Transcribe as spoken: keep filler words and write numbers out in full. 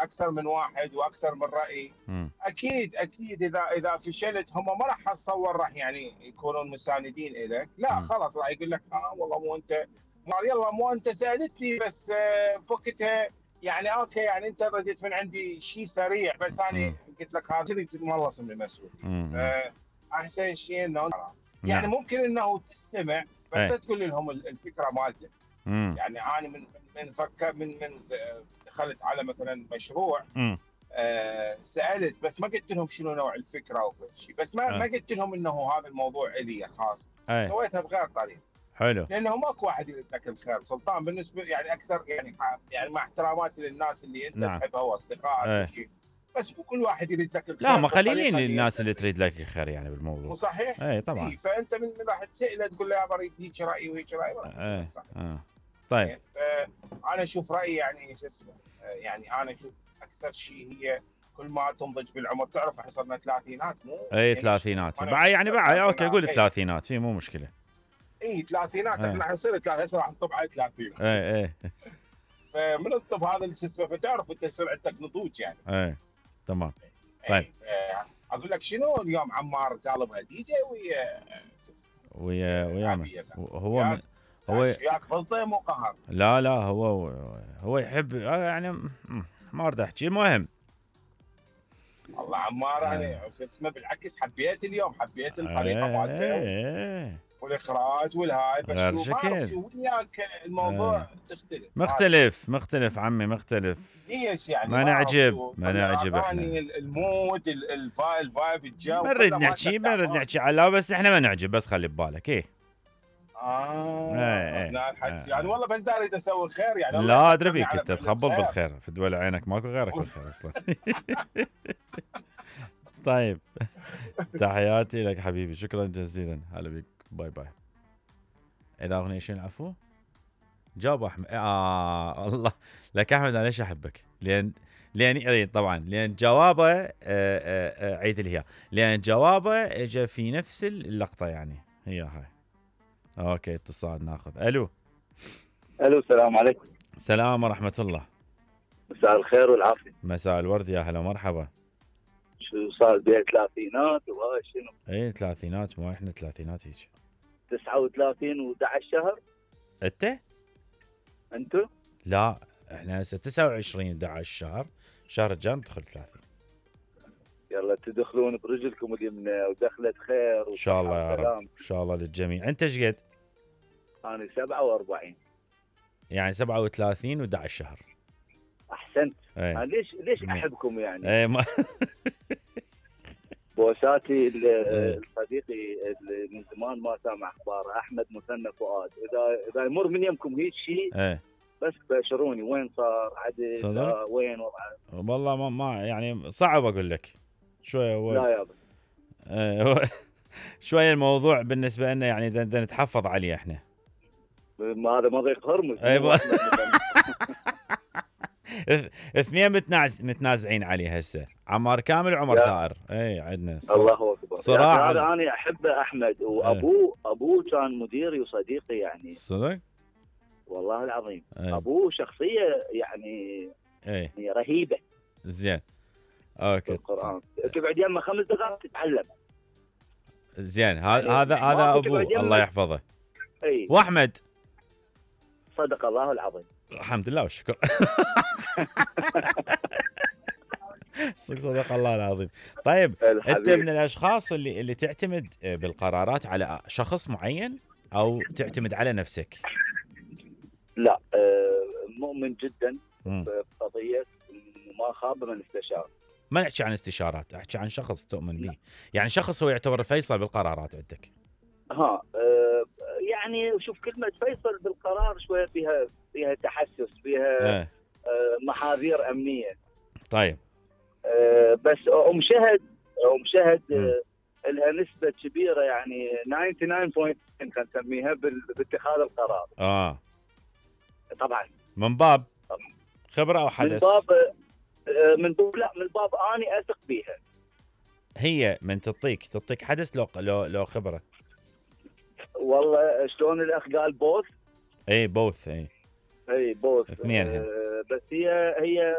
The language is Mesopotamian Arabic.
اكثر من واحد واكثر من راي. مم. اكيد اكيد اذا اذا فشلت هم ما راح اتصور راح يعني يكونون مساندين لك، لا مم. خلاص راح يقول لك اه والله مو انت، يلا مو انت سالتني بس آه، بوقتها يعني اوكي يعني انت رديت من عندي شيء سريع، بس انا مم. قلت لك هذا مخلص من المسؤول. مم. آه، احسن شيء انه يعني نعم. ممكن انه تستمع بس ايه. لا تقول لهم الفكره مالتك. مم. يعني انا من من من فكر من من دخلت على مثلا مشروع، مم. آه سالت بس ما قلت لهم شنو نوع الفكره او كل شيء، بس ما ما اه. قلت لهم انه هذا الموضوع الي خاص، ايه. سويتها بغير طريقه. حلو. لانه ماكو واحد يريد لك الخير سلطان، بالنسبه يعني اكثر يعني يعني مع احتراماتي للناس اللي انت نعم. تحبها واصدقائك ايه. وشيء، بس مو كل واحد يريد لك لا الخير ما خليلين بالطريقه اللي انت الناس اللي تريد. تريد لك الخير يعني بالموضوع. مو صحيح؟ اي اي طبعا. فانت من من راح تساله تقول له يا بريد هيك رايي وهيك رايي ما راح يكون ايه. صح. اه. طيب. يعني انا اشوف رايي يعني شو اسمه، آه، يعني انا اشوف اكثر شيء هي كل ما تنضج بالعمر، تعرف احنا صرنا ثلاثينات مو اي نمشي ثلاثينات ما بعد نمشي يعني بعد اوكي قول ثلاثينات. ثلاثينات في مو مشكله. اي ثلاثينات ايه. احنا حنصير ثلاثة هسه راح نطب على ثلاثين. ايه. ايه. فمن الطب هذا اللي شو اسمه، فتعرف انت سرعتك نضوج يعني. ايه. تمام. طيب. اي آه، اقول لك شنو اليوم عمار طالبها دي جي ويا شو اسمه ويا ويا من عبير. هو من وياك هو وياك بلطي مو قهر. لا لا هو هو يحب آه، يعني ما اريد احكي المهم. والله عمار آه. انا شو اسمه بالعكس حبيت اليوم، حبيت الطريقه مالته ايه. والاخراج والهاي، بس غير شو ما اعرف شكل. شو وياك الموضوع آه. تختلف مختلف مختلف عمي مختلف. ليش يعني ما ما اعرف نعجب شو ما طلع نعجب اغاني احنا. المود الفايب الفايب الجو ما نريد كله نحكي مالتك ما نريد تعبان. نحكي على بس احنا ما نعجب بس خلي ببالك ايه. اه ايه ايه. هنا آه. الحكي يعني، آه. والله بس داري اسوي خير يعني، الله لا ادري يفكرني بيك على انت فعل تخبط الخير. بالخير في دول عينك ماكو غيرك بالخير اصلا. طيب. تحياتي لك حبيبي شكرا جزيلا هلا بيك باي باي. اذا اغنية شنو العفو؟ جاوب احمد. اه الله لك احمد انا ليش احبك؟ لان لان اي طبعا لان جوابه آه آه آه عيد اللي هي لان جوابه اجى في نفس اللقطه يعني هي هاي. اوكي اتصال ناخذ. الو. الو السلام عليكم. السلام ورحمه الله. مساء الخير والعافيه. مساء الورد يا هلا مرحبا. شو صار بين ثلاثينات وهاي شنو؟ اي ثلاثينات مو احنا ثلاثينات هيك. تسعة وثلاثين وأحد عشر شهر. انت؟ انتو؟ لا احنا هسه تسعة وعشرين أحد عشر شهر، الشهر الجاي ندخل ثلاثين. يلا تدخلون برجلكم اليمنى ودخلت خير ان شاء الله يا رب وسلام. ان شاء الله للجميع. انت ايش قد؟ انا سبعة وأربعين. يعني سبعة وثلاثين و11 شهر. احسنت. ايه. أنا ليش ليش مم. احبكم يعني؟ ايه ما بوساتي ال- إيه. صديقي اللي من زمان ما سامع اخباره احمد مثنى فؤاد، اذا اذا يمر من يمكم هيك شيء ايه بس بشروني وين صار عدل صدق؟ لا وين وضعه. والله ما, ما يعني صعب اقول لك شويه هو لا يابا. ايه هو شويه الموضوع بالنسبه لنا يعني بدنا نتحفظ عليه احنا. ما هذا مضيق هرمز. اي مو ب- أحمد مثنى. اثنين متناز... متنازعين عليه هسه عمار كامل وعمر يا ثائر. اي عندنا ص... الله اكبر. صراع. هذا انا احبه احمد، وابوه ابوه كان مديري وصديقي يعني. صدق؟ والله العظيم. ايه. ابوه شخصيه يعني ايه يعني رهيبه زين. في اوكي القران، تقعد يمه خمس دقائق تتعلم. زين ه... يعني هذا هذا ماكو ابوه تقعد الله يمه. يحفظه. اي واحمد صدق الله العظيم. الحمد لله والشكر. صدق صدق الله العظيم. طيب انت الحبيب. من الاشخاص اللي اللي تعتمد بالقرارات على شخص معين او تعتمد على نفسك؟ لا آه، مؤمن جدا مم. بقضيه ما خاب من استشار. ما نحكي عن استشارات، احكي عن شخص تؤمن به، يعني شخص هو يعتبر الفيصل بالقرارات عندك. ها آه، يعني شوف كلمه فيصل بالقرار شويه فيها فيها تحسس، فيها ايه. آه، محاذير امنيه. طيب. آه، بس ام شهد ام شهد مم. آه، لها نسبه كبيره يعني تسعة وتسعين بالمئة خلينا نسميها بال- باتخاذ القرار. اه طبعا من باب طبعا خبره او من حدث؟ باب آه، من باب لا من باب اني اثق بيها. هي من تعطيك تعطيك حدث لو لو لو خبره. والله شلون الاخ قال بوث. اي بوث. اي اي بوث اثنينهم. آه بس هي هي